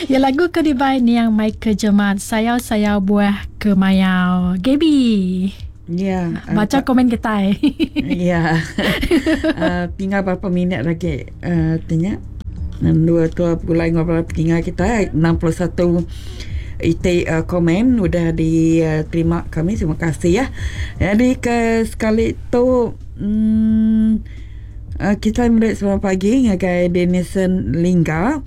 Ya lagu ke dibai niang Michael Jemat Sayau-sayau Buah Kemayau. Gaby. Ya. Baca komen kitai. Ya. Tinggal berapa minit lagi tanya. Dua tua pulai enggau bala peninga kitai 61 iti komen udah diterima kami terima kasih ya. Jadi ke sekali tu uhh kitai meri selamat pagi ngagai Denison Lingga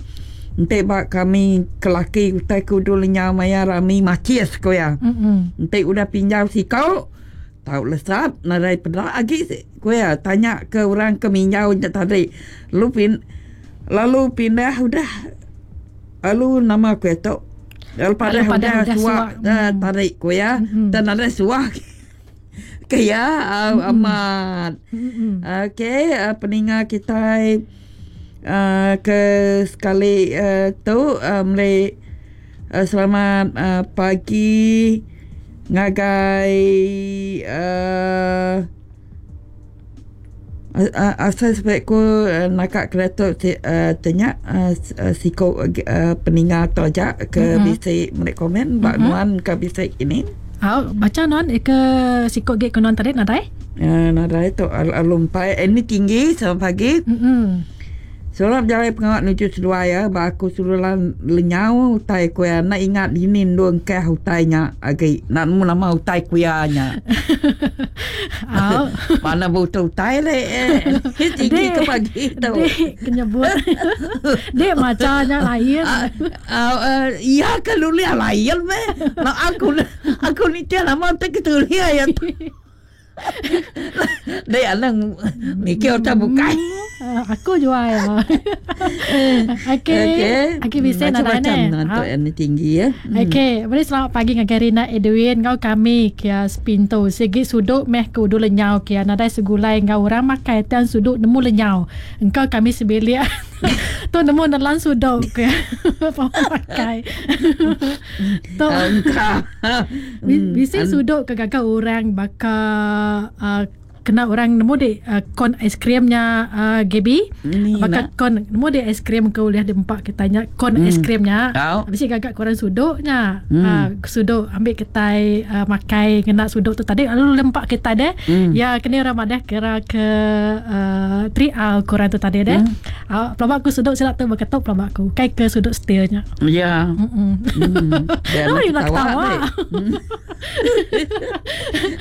enti ba kami ke laki utai ke udu lenyau maya rami macis ku iya. Enti udah pinjau siko tau lesap nadai peda agi ku iya tanya ke orang ke minjau nya tadi lalu pin lalu pindah udah lalu nama ku iya tu lalu padah udah suak tadi ku iya tang nadai suak. Ke iya amat. Okey peninga kitai uhh ke sekali tu meli selamat pagi ngagai uhh asai sepi ku naka kediatu ti nya siku peninga tu aja ke bisi meri komen ba nuan ke bisi ini. Au bacha nuan ke siku agi ke nuan tadi nadai? Nadai tu lalu empai ini tinggi selamat pagi. Selamat bejalai pengawa nuju seduai iya ba aku seruran lenyau utai ku iya enda ingat dini endur engkah utai nya agi enda nemu nama utai ku iya nya. Au. Mana buta utai lek tinggi ke pagi tu. Dik ke nyebut. Dik macha nya lain. Au iya ke nulis lain meh. Aku aku nitih nama utai ke tulis iya tu. Dek anang mikir utai bukai. Aku jual ya. Okey. Okey. Okey bisi nadai Macam-macam ne. untuk yang ni tinggi ya. Okey, beri selamat pagi ngagai Rina Edwin enggau kami kia sepintu. Sigi suduk meh ke udu lenyau kia nadai segulai enggau orang makai tang suduk nemu lenyau. Engka kami sebilik tu nemu nelan suduk ke pemakai. Tu Engka. Bisi suduk ke gaga orang baka uh, kena orang nemu dik uh, kon aiskrim nya uh, Gaby baka kon nemu dik aiskrim ke ulih diempa kita nya kon mm. aiskrim nya oh. bisi gaga ke orang suduk nya mm. uh, suduk ambil kitai uh, makai ngena suduk tu tadi lalu lempak kita deh mm. ya kena orang madah kira ke uh, 3R ke orang tu tadi deh mm. uh, pelaba aku suduk sila tu beketuk pelaba aku kai ke suduk steel nya Ya. Mm. Jangan oh, nak ketawa.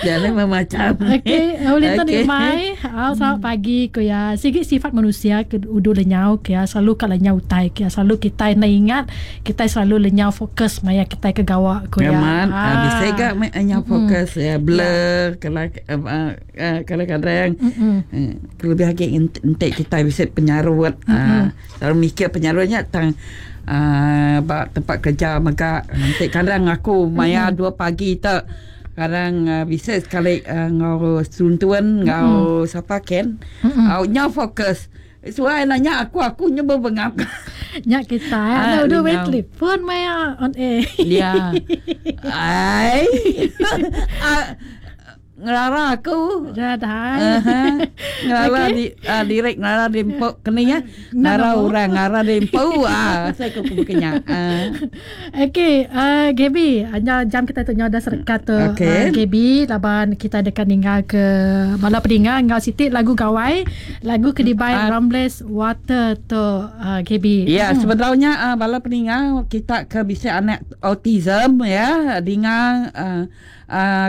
Jangan memacam. Okey, boleh tu ni mai. Ah, selamat pagi ku ya. Sigi sifat manusia ke udu lenyau ke ya selalu ka lenyau utai ke ya selalu kita enda ingat, kita selalu lenyau fokus maya kita ke gawa ku ya. Amat, ah. Bisi ga lenyau fokus ya blur kala kadang-kadang. Kelebih agi enti kitai bisi penyarut. Lalu mikir penyarut nya tang uhh ba tempat kerja mega enti kadang aku maya dua pagi te kadang bisi sekali enggau seruntun enggau sapa ken au nyau fokus suai nanya aku aku nya bebengap. Nya kitai anu udah meh telefon maya on air. Ya. Ai. Ngelara aku. Dah. Uh-huh. Ngelara okay. di uh, direk ngelara di empu keni ya. Ngelara orang ngelara di empu ah saya ku kenya. Uh. Okey, uh, Gaby, anya jam kita tu nya dah serekat tu. Okay. Uh, Gaby laban kita deka ninggal ke bala peninga enggau siti lagu gawai, lagu ke dibai uh, Rambles Water tu uh, Gaby. Ya, hmm. sebenarnya uh, bala peninga kita ke bisi anak autism ya, dinga uh,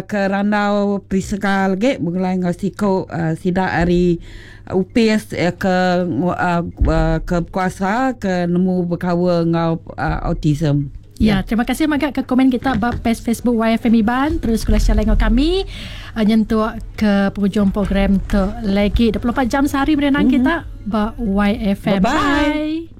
Ke randau Prisca lagi begulai enggau siku sida ari opis ke ke bekuasa ke nemu bekaul enggau autism. Ya, terima kasih mega ke komen kita ba page Facebook YFM Iban. Terus kula share enggau kami nyentuk ke penghujung program tu lagi 24 jam sehari berenang kita ba YFM. Bye. Bye.